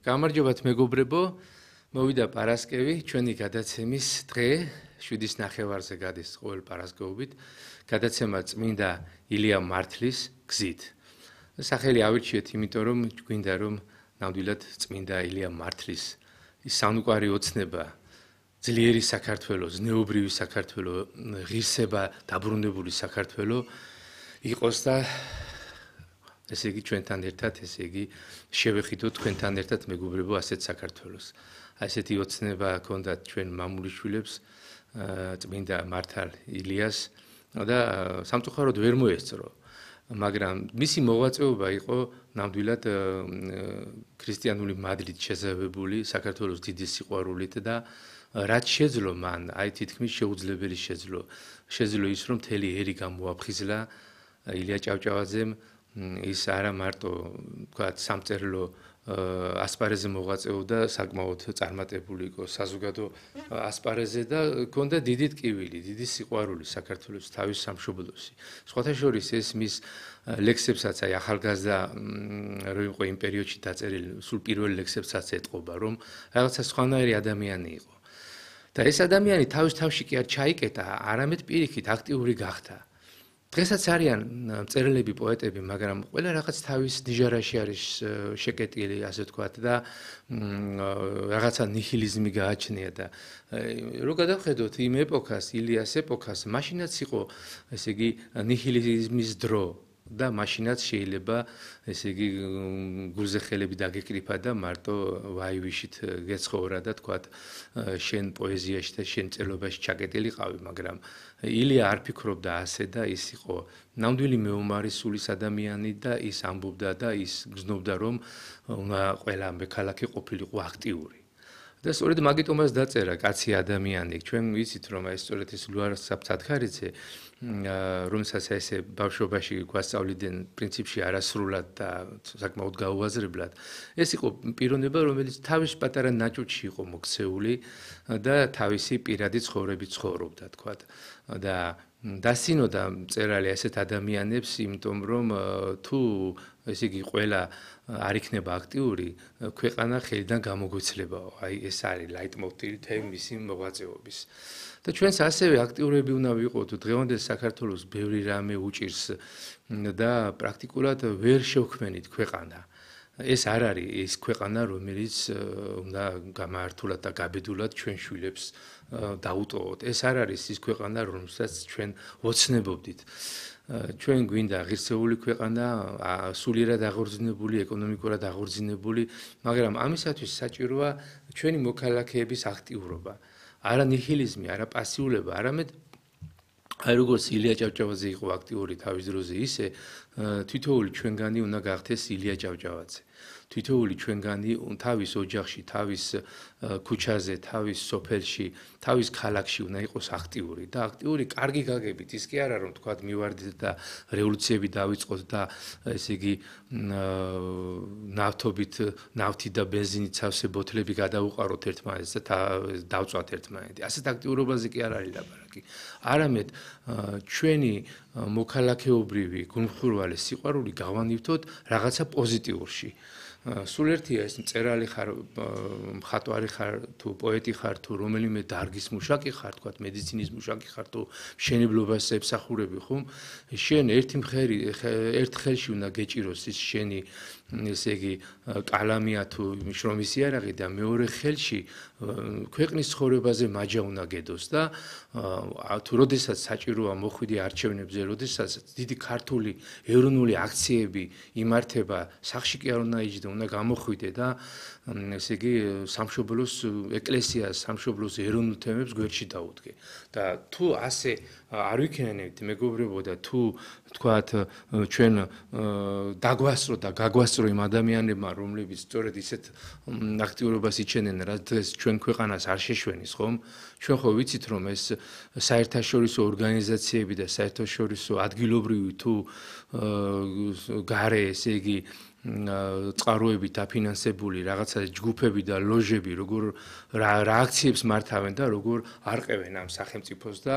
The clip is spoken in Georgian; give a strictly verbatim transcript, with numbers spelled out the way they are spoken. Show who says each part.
Speaker 1: გამარჯობათ მეგობრებო, მოვიდა პარასკევი, ჩვენი გადაცემის დღე, შვიდის ნახევარზე გადის ყოველ პარასკევობით, გადაცემა წმინდა ილია მართლის გზით. სახელი ავირჩიეთ, იმიტომ რომ გვინდა რომ ნამდვილად წმინდა ილია მართლის ის სამყარო ოცნება, ძლიერი საქართველოს, ზნეობრივი საქართველოს, ღირსება დაბრუნებული საქართველოს იყოს და ესე იგი ჩვენთან ერთად, ესე იგი შევეხიდოთ თქვენთან ერთად მეგობრებო ასეთ საქართველოს. ასეთი ოცნება ჰქონდათ ჩვენ მამულიშვილებს, წმინდა მართალ ილიას და სამწუხაროდ ვერ მოესწრო. მაგრამ მისი მოღვაწეობა იყო ნამდვილად ქრისტიანული მადლით შეზავებული საქართველოს დიდი სიყვარულით და რაც შეძლო მან, აი თითქმის შეუძლებელი შეძლო. შეძლო ის რომ მთელი ერი გამოაფხიზლა ილია ჭავჭავაძემ ის არა მარტო თქვათ სამწერლო ასპარეზზე მოღვაწეობდა საკმაოდ წარმატებული იყო საზოგადო ასპარეზზე და ჰქონდა დიდი ტკივილი, დიდი სიყვარული საქართველოს თავის სამშობლოში. სხვათა შორის ეს მის ლექსებსაც აი ახალგაზრდა რო იყო იმ პერიოდში დაწერილი, სულ პირველ ლექსებსაც ეტყობა, რომ რაღაცა სხვანაირი ადამიანი იყო. და ეს ადამიანი თავის თავში კი არ ჩაიკეტა, არამედ პირიქით აქტიური გახდა. დღესაც არიან მწერლები, პოეტები, მაგრამ ყველა რაღაც თავის ნიჟარაში არის შეკეტილი, ასე ვთქვათ და რაღაცა ნიჰილიზმი გააჩნია და რო გადავხედოთ იმ ეპოქას, ილიას ეპოქას, მაშინაც იყო, ესე იგი, ნიჰილიზმის დრო. და მაშინაც შეიძლება ესე იგი გულზე ხელები დაგეკრიფა და მარტო ვაივიშით გეცხოვრა და თქვათ შენ პოეზიაში და შენ წერლობაში ჩაკეტილიყავი, მაგრამ ილია არ ფიქრობდა ასე და ის იყო ნამდვილი მეომარი სულის ადამიანი და ის ამბობდა და ის გრძნობდა რომ უნდა ყველა მექალაქე ყოფილიყო აქტიური. და სწორედ მაგიტომაც დაწერა კაცი ადამიანი. ჩვენ ვიცით რომ აი სწორედ ეს ლუარ საფცათქარიძე რომელსაც ესე ბავშვობაში გვასწავლიდნენ პრინციპში არასრულად და საკმაოდ გაუაზრებლად. ეს იყო პიროვნება, რომელიც თავის პატარა ნაჭუჭში იყო მოქცეული და თავისი პირადი ცხოვრებით ცხოვრობდა, თქვათ. და დასინოდა მწერალი ასეთ ადამიანებს, იმიტომ რომ თუ ესე იგი ყველა არ იქნება აქტიური, ქვეყანა ხელიდან გამოგვეცლებაო. აი ეს არის ლაიტმოტივი თემის მოღვაწეობის. და ჩვენს ასევე აქტიურები უნდა ვიყოთ დღევანდელ საქართველოს ბევრი რამე უჭირს და პრაქტიკულად ვერ შევქმნით ქვეყანა. ეს არ არის ის ქვეყანა, რომელიც უნდა გამართულად და გაბედულად ჩვენ შვილებს დაუტოვოთ. ეს არ არის ის ქვეყანა, რომელსაც ჩვენ ოცნებობდით. ჩვენ გვინდა ღირსეული ქვეყანა, სულიერად აღორძინებული, ეკონომიკურად აღორძინებული, მაგრამ ამისათვის საჭიროა ჩვენი მოქალაქეების აქტიურობა. არა ნიჰილიზმი, არა პასიულობა, არამედ აი როგორც ილია ჭავჭავაძე იყო აქტიური თავის დროზე, ისე თითოეული ჩვენგანი უნდა გახდეს ილია ჭავჭავაძე. თითოეული ჩვენგანი თავის ოჯახში, თავის ქუჩაზე, თავის სოფელში, თავის ქალაქში უნდა იყოს აქტიური და აქტიური კარგი გაგებით. ის კი არა რომ თქვათ მივარდეთ და რევოლუციები დავიწყოთ და ესე იგი ნავთობით, ნავთი და ბენზინით სავსე ბოთლები გადავუყაროთ ერთმანეთს და დავწვათ ერთმანეთი. ასეთ აქტიურობაზე კი არ არის ლაპარაკი. არამედ ჩვენი მოქალაქეობრივი გულმხურვალი სიყვარული გავანივთოთ რაღაცა პოზიტიურში. სულ ერთია ეს მწერალი ხარ, მხატვარი ხარ, თუ პოეტი ხარ, თუ რომელიმე დარგის მუშაკი ხარ, თქვათ მედიცინის მუშაკი ხარ, თუ მშენებლობას ემსახურები ხომ, შენ ერთი მხერი ერთ ხელში უნდა გეჭიროს ის შენი ესე იგი კალამია თუ შრომის იარაღი და მეორე ხელში ქვეყნის ცხოვრებაზე მაჯა უნდა გედოს და თუ როდესაც საჭიროა მოხვიდი არჩევნებზე, როდესაც დიდი ქართული ეროვნული აქციები იმართება, სახში კი არ უნდა იჯდე, უნდა გამოხვიდე და ესე იგი სამშობლოს ეკლესიას, სამშობლოს ეროვნულ თემებს გვერდში დაუდგე. და თუ ასე არ ვიქნენებთ მეგობრებო და თუ თქვათ ჩვენ დაგვასწრო და გაგვასწრო იმ ადამიანებმა, რომლებიც სწორედ ისეთ აქტიურობას იჩენენ, რაც დღეს ჩვენ ქვეყანას არ შეშვენის, ხომ? ჩვენ ხო ვიცით რომ ეს საერთაშორისო ორგანიზაციები და საერთაშორისო ადგილობრივი თუ გარე ესე იგი წყაროებით დაფინანსებული რაღაცა ჯგუფები და ლოჟები, როგორ რა აქციებს მართავენ და როგორ არყევენ ამ სახელმწიფოს და